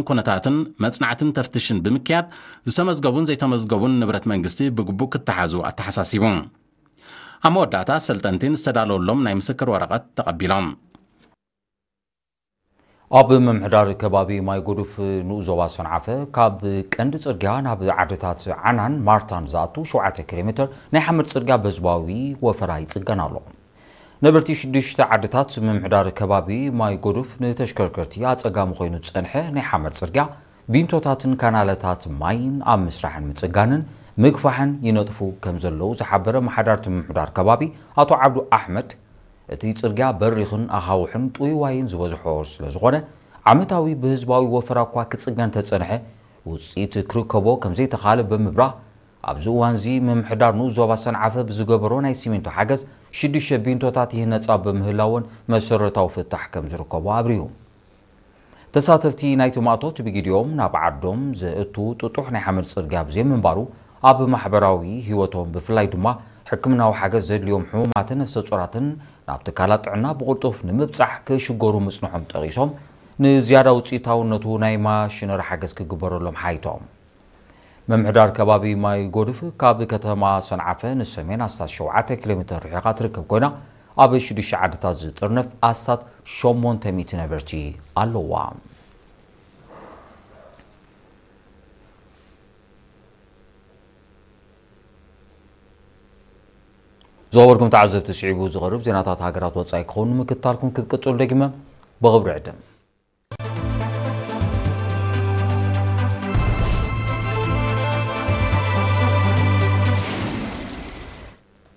ኩነታትን መጽናዕትን ተፍትሽን ብምክያድ ዝተመዝገቡን ዘይተመዝገቡን ንብረት መንግስቲ ብግቡእ ክተሓዙ ኣተሓሳሲቡ። ኣብ መወዳእታ ሰልጠንቲ ዝተዳለወሎም ናይ ምስክር ወረቐት ተቐቢሎም። ኣብ ምምሕዳር ከባቢ ማይ ጎዱፍ ንኡስ ዞባ ሰንዓፈ ካብ ቀንዲ ጽርግያ ናብ ዓድታት ዓናን ማርታን ዝኣቱ ሸውዓተ ኪሎ ሜትር ናይ ሓመድ ጽርግያ በህዝባዊ ወፈራ ይጽገን ኣሎ። ነበርቲ ሽዱሽተ ዓድታት ምምሕዳር ከባቢ ማይ ጎዱፍ ንተሽከርከርቲ ኣጸጋሚ ኮይኑ ዝጸንሐ ናይ ሓመድ ጽርግያ ቢንቶታትን ካናለታት ማይን ኣብ ምስራሕን ምጽጋንን ምግፋሕን ይነጥፉ ከም ዘለዉ ዝሓበረ ኣመሓዳርቲ ምምሕዳር ከባቢ ኣቶ ዓብዱ ኣሕመድ፣ እቲ ጽርግያ በሪኽን ኣኻውሕን ጥውይዋይን ዝበዝሖ ስለ ዝኾነ ዓመታዊ ብህዝባዊ ወፈራ እኳ ክጽገን ተጸንሐ ውጽኢት ክርከቦ ከም ዘይተኻለ ብምብራህ፣ ኣብዚ እዋንዚ ምምሕዳር ንኡስ ዞባ ሰንዓፈ ብዝገበሮ ናይ ሲሚንቶ ሓገዝ ሽዱሽተ ቢንቶታት ይህነጻ ብምህላወን መሰረታዊ ፍታሕ ከም ዝርከቦ ኣብሪሁ። ተሳተፍቲ ናይቲ ማእቶት ብጊዲኦም ናብ ዓዶም ዘእቱ ጥጡሕ ናይ ሓመድ ጽርግያ ብዘይምንባሩ ኣብ ማሕበራዊ ህይወቶም ብፍላይ ድማ ሕክምናዊ ሓገዝ ዘድልዮም ሕሙማትን ነፍሰ ጾራትን ናብ ትካላት ጥዕና ብቕልጡፍ ንምብጻሕ ክሽገሩ ምጽንሖም ጠቒሶም ንዝያዳ ውጽኢታውነቱ ናይ ማሽነሪ ሓገዝ ክግበረሎም ሓይቶም። ምምሕዳር ከባቢ ማይ ጎድፍ ካብ ከተማ ሰንዓፈ ንሰሜን ኣስታት ሸውዓተ ኪሎ ሜትር ርሒቓ ትርከብ ኮይና ኣብ ሽዱሽተ ዓድታት ዝጥርነፍ ኣስታት ሸሞንተ ሚእቲ ነበርቲ ኣለዋ። ዝኸበርኩም ተዓዘብቲ ስዒቡ ዝቐርብ ዜናታት ሃገራት ወጻኢ ክኸውን ንምክትታልኩም ክትቅጽሉ ደጊመ ብኽብሪ ዕድም።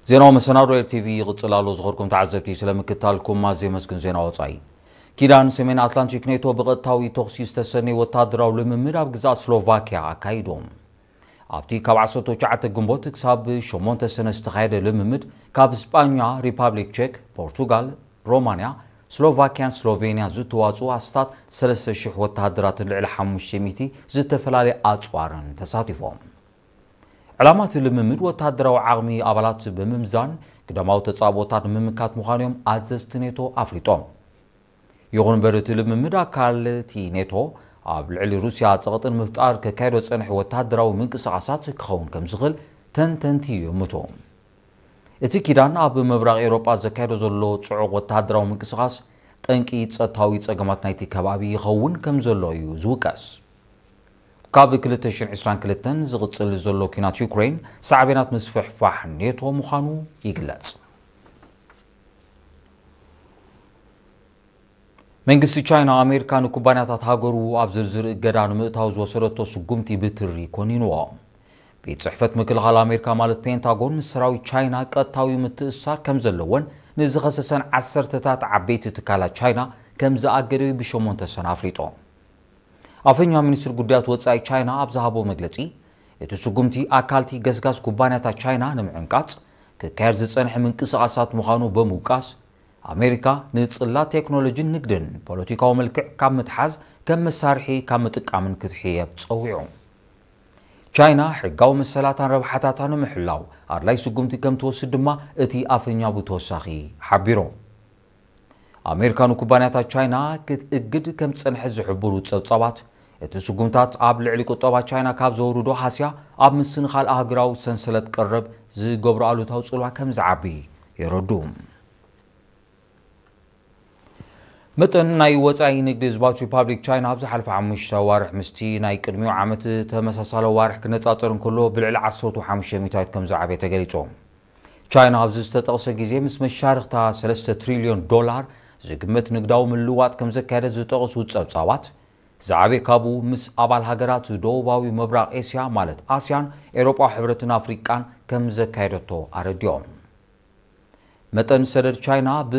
ዜናዊ መሰናዶ ኤልቲቪ ይቕጽል ኣሎ። ዝኸበርኩም ተዓዘብቲ ስለ ምክትታልኩም ኣዝየ መስግን። ዜና ወጻኢ። ኪዳን ሰሜን ኣትላንቲክ ኔቶ ብቐጥታዊ ተኹሲ ዝተሰነየ ወታደራዊ ልምምድ ኣብ ግዛት ስሎቫኪያ ኣካይዶም። ኣብቲ ካብ ዓሰርተ ትሽዓተ ግንቦት ክሳብ ሸሞንተ ሰነ ዝተኻየደ ልምምድ ካብ ስጳኛ፣ ሪፓብሊክ ቼክ፣ ፖርቱጋል፣ ሮማንያ፣ ስሎቫኪያን ስሎቬንያ ዝተዋጽኡ ኣስታት ሰለስተ ሽሕ ወተሃደራትን ልዕሊ ሓሙሽተ ሚእቲ ዝተፈላለየ ኣጽዋርን ተሳቲፎም። ዕላማ እቲ ልምምድ ወተሃደራዊ ዓቕሚ ኣባላት ብምምዛን ግዳማዊ ተጻብኦታት ንምምካት ምዃኑ እዮም ኣዘዝቲ ኔቶ ኣፍሊጦም። ይኹን እምበር እቲ ልምምድ ኣካል እቲ ኔቶ ኣብ ልዕሊ ሩስያ ጸቕጢ ንምፍጣር ከካይዶ ዝጸንሐ ወተሃደራዊ ምንቅስቓሳት ክኸውን ከም ዝኽእል ተንተንቲ ይእምቱ። እቲ ኪዳን ኣብ ምብራቕ ኤውሮጳ ዘካይዶ ዘሎ ጽዑቕ ወተሃደራዊ ምንቅስቓስ ጠንቂ ጸጥታዊ ጸገማት ናይቲ ከባቢ ይኸውን ከም ዘሎ እዩ ዝውቀስ። ካብ ክልተ ሽሕን ዕስራን ክልተን ዝቕጽል ዘሎ ኲናት ዩክሬን ሳዕቤናት ምስፍሕፋሕ ኔቶ ምዃኑ ይግለጽ። መንግስቲ ቻይና ኣሜሪካ ንኩባንያታት ሃገሩ ኣብ ዝርዝር እገዳ ንምእታው ዝወሰደቶ ስጉምቲ ብትሪ ኮኒንዎ። ቤት ጽሕፈት ምክልኻል ኣሜሪካ ማለት ፔንታጎን ምስ ሰራዊት ቻይና ቀጥታዊ ምትእስሳር ከም ዘለዎን ንዝኸሰሰን ዓሰርተታት ዓበይቲ ትካላት ቻይና ከም ዝኣገደዩ ብሸሞንተ ሰነ ኣፍሊጡ። ኣፈኛ ሚኒስትሪ ጉዳያት ወጻኢ ቻይና ኣብ ዝሃቦ መግለጺ፣ እቲ ስጉምቲ ኣካልቲ ገስጋስ ኩባንያታት ቻይና ንምዕንቃጽ ክካየድ ዝጸንሐ ምንቅስቓሳት ምዃኑ ብምውቃስ፣ ኣሜሪካ ንጽላት ቴክኖሎጂን ንግድን ፖለቲካዊ መልክዕ ካብ ምትሓዝ ከም መሳርሒ ካብ ምጥቃምን ክትሕየብ ጸዊዑ። ቻይና ሕጋዊ መሰላታን ረብሓታታን ንምሕላው ኣድላይ ስጉምቲ ከም ትወስድ ድማ እቲ ኣፈኛ ብተወሳኺ ሓቢሩ። ኣሜሪካ ንኩባንያታት ቻይና ክትእግድ ከም ዝጸንሐት ዝሕብሩ ጸብጻባት፣ እቲ ስጉምታት ኣብ ልዕሊ ቁጠባ ቻይና ካብ ዘውርዶ ሃስያ ኣብ ምስንኻል ኣህጉራዊ ሰንሰለት ቀረብ ዝገብሮ ኣሉታዊ ጽልዋ ከም ዝዓቢ የረዱ። መጠን ናይ ወጻኢ ንግዲ ህዝባዊት ሪፓብሊክ ቻይና ኣብ ዝሓለፈ ሓሙሽተ ኣዋርሕ ምስቲ ናይ ቅድሚኡ ዓመት ተመሳሳሊ ኣዋርሕ ክነጻጸር እንከሎ ብልዕሊ ዓሰርተ ሓሙሽተ ሚእታዊት ከም ዝዓበየ ተገሊጹ። ቻይና ኣብዚ ዝተጠቕሰ ግዜ ምስ መሻርኽታ ሰለስተ ትሪልዮን ዶላር ዝግመት ንግዳዊ ምልውዋጥ ከም ዘካየደት ዝጠቕሱ ጸብጻባት፣ ዝዓበየ ካብኡ ምስ ኣባል ሃገራት ደቡባዊ ምብራቕ ኤስያ ማለት ኣስያን፣ ኤውሮጳዊ ሕብረትን ኣፍሪቃን ከም ዘካየደቶ ኣረዲኦም። መጠን ሰደድ ቻይና ብ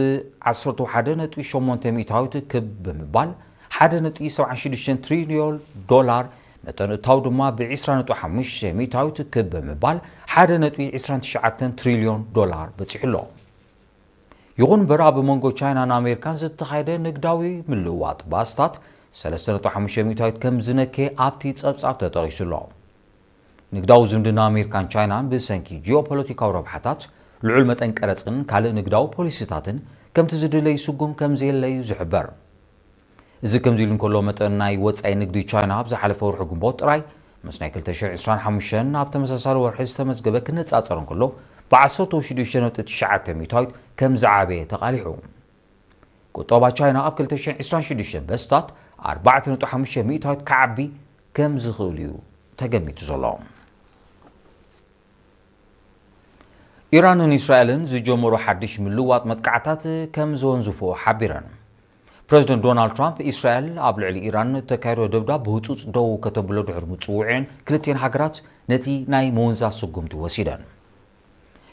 ዓሰርተ ሓደ ነጥቢ ሸሞንተ ሚእታዊት ክብ ብምባል ሓደ ነጥቢ ሰብዓን ሽዱሽተን ትሪልዮን ዶላር፣ መጠን እታው ድማ ብ ዕስራ ነጥቢ ሓሙሽተ ሚእታዊት ክብ ብምባል ሓደ ነጥቢ ዕስራን ትሽዓተን ትሪልዮን ዶላር በጺሑ ኣሎ። ይኹን እምበር ኣብ መንጎ ቻይናን ኣሜሪካን ዝተኻየደ ንግዳዊ ምልውዋጥ ብኣስታት ሰለስተ ነጥቢ ሓሙሽተ ሚእታዊት ከም ዝነከየ ኣብቲ ጸብጻብ ተጠቒሱ ኣሎ። ንግዳዊ ዝምድና ኣሜሪካን ቻይናን ብሰንኪ ጂኦፖለቲካዊ ረብሓታት፣ ልዑል መጠን ቀረጽን ካልእ ንግዳዊ ፖሊሲታትን ከምቲ ዝድለ ይስጉም ከም ዘየለ እዩ ዝሕበር። እዚ ከምዚ ኢሉ እንከሎ፣ መጠን ናይ ወጻኢ ንግዲ ቻይና ኣብ ዝሓለፈ ወርሒ ግንቦት ጥራይ ምስ ናይ ክልተ ሽሕን ዕስራን ሓሙሽተን ኣብ ተመሳሳሊ ወርሒ ዝተመዝገበ ክነጻጸር እንከሎ፣ ብ ዓሰርተ ሽዱሽተ ነጥቢ ትሽዓተ ሚእታዊት ከም ዝዓበየ ተቓሊሑ። ቁጠባ ቻይና ኣብ ክልተ ሽሕን ዕስራን ሽዱሽተን በስታት ኣርባዕተ ነጥቢ ሓሙሽተ ሚእታዊት ክዓቢ ከም ዝኽእል እዩ ተገሚቱ ዘሎ። ኢራንን እስራኤልን ዝጀመሮ ሓድሽ ምልዋጥ መጥቃዕታት ከም ዘወንዝፎ ሓቢረን። ፕረዚደንት ዶናልድ ትራምፕ፣ እስራኤል ኣብ ልዕሊ ኢራን እተካየዶ ደብዳብ ብህጹጽ ደው ከተብሎ ድሕሪ ምጽውዒአን፣ ክልቲኤን ሃገራት ነቲ ናይ ምውንዛፍ ስጉምቲ ወሲደን።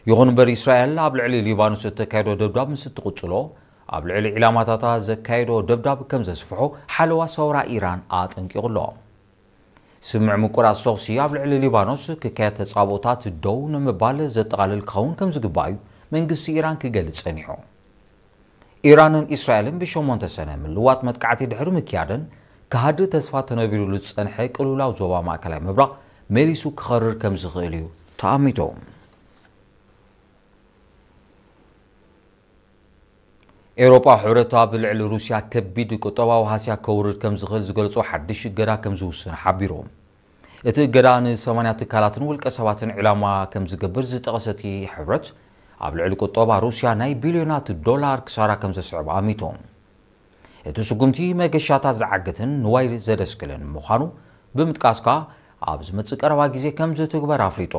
ይኹን እምበር፣ እስራኤል ኣብ ልዕሊ ሊባኖስ እተካየዶ ደብዳብ ምስ እትቕጽሎ፣ ኣብ ልዕሊ ዒላማታታ ዘካየዶ ደብዳብ ከም ዘስፍሖ ሓለዋ ሰውራ ኢራን ኣጠንቂቑ ኣሎ። ስምምዕ ምቁራጽ ተኹሲ ኣብ ልዕሊ ሊባኖስ ክካየድ ተጻብኦታት ደው ንምባል ዘጠቓልል ክኸውን ከም ዝግባእ እዩ መንግስቲ ኢራን ክገልጽ ጸኒሑ። ኢራንን እስራኤልን ብሸሞንተ ሰነ ምልዋጥ መጥቃዕቲ ድሕሪ ምክያደን፣ ክሃድእ ተስፋ ተነቢሩሉ ዝጸንሐ ቅልውላው ዞባ ማእከላይ ምብራቕ መሊሱ ክኸርር ከም ዝኽእል እዩ ተኣሚቱ። ኤውሮጳ ሕብረት ኣብ ልዕሊ ሩስያ ከቢድ ቁጠባዊ ሃስያ ከውርድ ከም ዝኽእል ዝገልጾ ሓድሽ እገዳ ከም ዝውስን ሓቢሩ። እቲ እገዳ ንሰማንያ ትካላትን ውልቀ ሰባትን ዕላማ ከም ዝገብር ዝጠቐሰ እቲ ሕብረት፣ ኣብ ልዕሊ ቁጠባ ሩስያ ናይ ቢልዮናት ዶላር ክሳራ ከም ዘስዕብ ኣሚቱ። እቲ ስጉምቲ መገሻታት ዝዓግትን ንዋይ ዘደስክልን ምዃኑ ብምጥቃስ ከኣ፣ ኣብ ዝመጽእ ቀረባ ግዜ ከም ዝትግበር ኣፍሊጡ።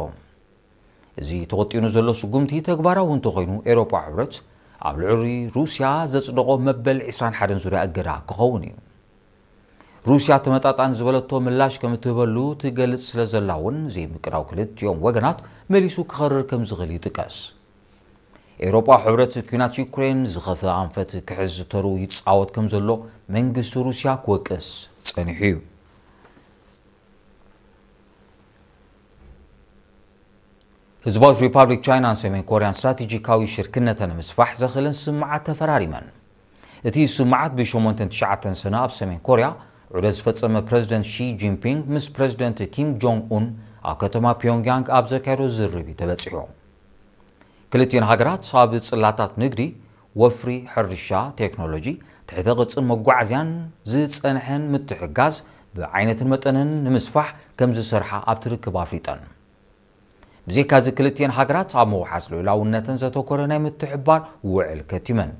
እዚ ተወጢኑ ዘሎ ስጉምቲ ተግባራዊ እንተኾይኑ፣ ኤውሮጳ ሕብረት ኣብ ልዕሊ ሩስያ ዘጽደቖ መበል ዕስራን ሓደን ዙርያ እገዳ ክኸውን እዩ። ሩስያ ተመጣጣኒ ዝበለቶ ምላሽ ከም እትህበሉ ትገልጽ ስለ ዘላ እውን፣ ዘይምቅዳው ክልቲኦም ወገናት መሊሱ ክኸርር ከም ዝኽእል ይጥቀስ። ኤውሮጳ ሕብረት፣ ኲናት ዩክሬን ዝኸፍአ ኣንፈት ክሕዝ ተሩ ይጻወት ከም ዘሎ መንግስቲ ሩስያ ክወቅስ ጸኒሑ እዩ። ህዝባዊት ሪፓብሊክ ቻይናን ሰሜን ኮርያን ስትራቴጂካዊ ሽርክነተን ንምስፋሕ ዘኽእለን ስምምዓት ተፈራሪመን። እቲ ስምምዓት ብሸሞንተን ትሽዓተን ሰነ ኣብ ሰሜን ኮርያ ዑደት ዝፈጸመ ፕረዚደንት ሺ ጂንፒንግ ምስ ፕረዚደንት ኪም ጆንግ ኡን ኣብ ከተማ ፒዮንግያንግ ኣብ ዘካየዶ ዝርርብ እዩ ተበጺሑ። ክልቲኤን ሃገራት ኣብ ጽላታት ንግዲ፣ ወፍሪ፣ ሕርሻ፣ ቴክኖሎጂ፣ ትሕተ ቅርጽን መጓዓዝያን ዝጸንሐን ምትሕግጋዝ ብዓይነትን መጠንን ንምስፋሕ ከም ዝሰርሓ ኣብቲ ርክብ ኣፍሊጠን። ብዘይካዚ፣ ክልቲኤን ሃገራት ኣብ ምውሓስ ልዑላውነተን ዘተኮረ ናይ ምትሕብባር ውዕል ከቲመን።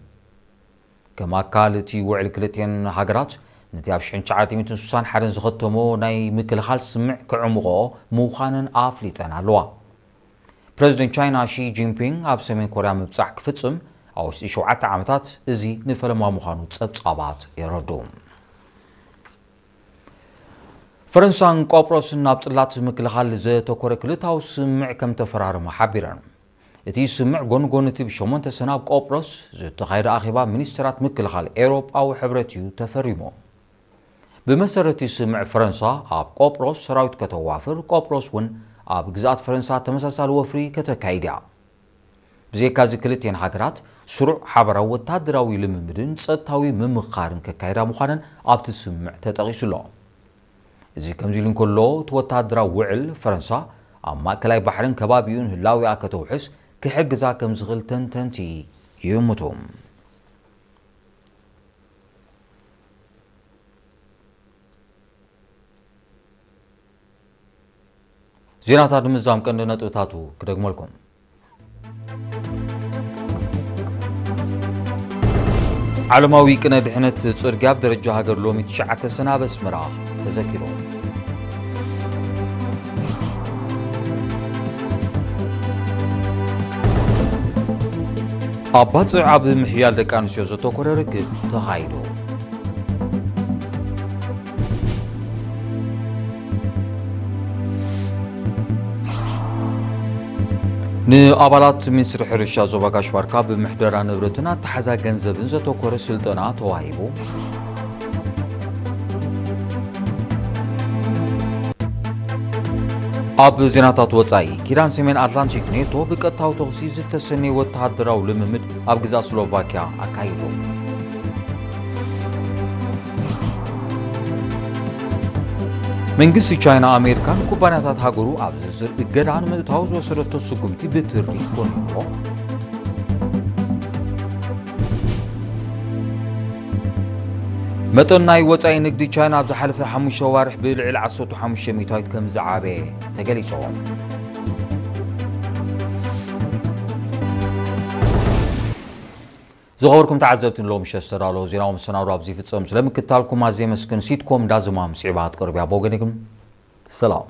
ከም ኣካል እቲ ውዕል፣ ክልቲኤን ሃገራት ነቲ ኣብ ሽሕን ትሽዓተ ሚእትን ስሳን ሓደን ዝኸተሞ ናይ ምክልኻል ስምምዕ ክዕምቖኦ ምዃነን ኣፍሊጠን ኣለዋ። ፕረዚደንት ቻይና ሺ ጂንፒንግ ኣብ ሰሜን ኮርያ ምብጻሕ ክፍጽም ኣብ ውሽጢ ሸውዓተ ዓመታት፣ እዚ ንፈለማ ምዃኑ ጸብጻባት የረድኡ። ፈረንሳን ቆጵሮስን ኣብ ጽላት ምክልኻል ዘተኮረ ክልታዊ ስምምዕ ከም ተፈራረማ ሓቢረን። እቲ ስምምዕ ጎኒ ጎኒ እቲ ብሸሞንተ ሰነ ኣብ ቆጵሮስ ዝተኻየደ ኣኼባ ሚኒስትራት ምክልኻል ኤውሮጳዊ ሕብረት እዩ ተፈሪሙ። ብመሰረት እቲ ስምምዕ፣ ፈረንሳ ኣብ ቆጵሮስ ሰራዊት ከተዋፍር፣ ቆጵሮስ እውን ኣብ ግዝኣት ፈረንሳ ተመሳሳሊ ወፍሪ ከተካይድ እያ። ብዘይካዚ፣ ክልቲኤን ሃገራት ስሩዕ ሓበራዊ ወታደራዊ ልምምድን ጸጥታዊ ምምኽኻርን ከካይዳ ምዃነን ኣብቲ ስምምዕ ተጠቒሱ ኣሎ። እዚ ከምዚ ኢሉ እንከሎ፣ እቲ ወታደራዊ ውዕል፣ ፈረንሳ ኣብ ማእከላይ ባሕርን ከባቢኡን ህላዊኣ ከተውሕስ ክሕግዛ ከም ዝኽእል ተንተንቲ ይእምቱ። ዜናታት ንምዝዛም ቀንዲ ነጥብታቱ ክደግመልኩም። ዓለማዊ ቅነ ድሕነት ጽርግያ ኣብ ደረጃ ሃገር ሎሚ ትሽዓተ ሰነ ኣብ ኣስመራ ተዘኪሩ። ኣብ ባጽዕ ኣብ ምሕያል ደቂ ኣንስትዮ ዘተኮረ ርክብ ተኻይዱ። ንኣባላት ሚኒስትሪ ሕርሻ ዞባ ጋሽ ባርካ ብምሕደራ ንብረትን ኣተሓዛ ገንዘብን ዘተኮረ ስልጠና ተዋሂቡ። ኣብ ዜናታት ወጻኢ፣ ኪዳን ሰሜን ኣትላንቲክ ኔቶ ብቀጥታዊ ተኹሲ ዝተሰነየ ወተሃደራዊ ልምምድ ኣብ ግዛት ስሎቫኪያ ኣካይዱ። መንግስቲ ቻይና፣ ኣሜሪካን ኩባንያታት ሃገሩ ኣብ ዝርዝር እገዳ ንምእታው ዝወሰደቶ ስጉምቲ ብትሪ ኮኒንዎ። መጠን ናይ ወጻኢ ንግዲ ቻይና ኣብ ዝሓለፈ ሓሙሽተ ኣዋርሕ ብልዕሊ ዓሰርተ ሓሙሽተ ሚእታዊት ከም ዝዓበየ ተገሊጹ። ዝኸበርኩም ተዓዘብቲ፣ ንሎሚ ምሸት ዝተዳለወ ዜናዊ መሰናዶ ኣብዚ ይፍጸም። ስለምክትታልኩም ኣዝየ የመስግን። ሲትኮም ዳዝማም ስዒባ ክትቀርብ እያ። ብወገነይ ግን ሰላም።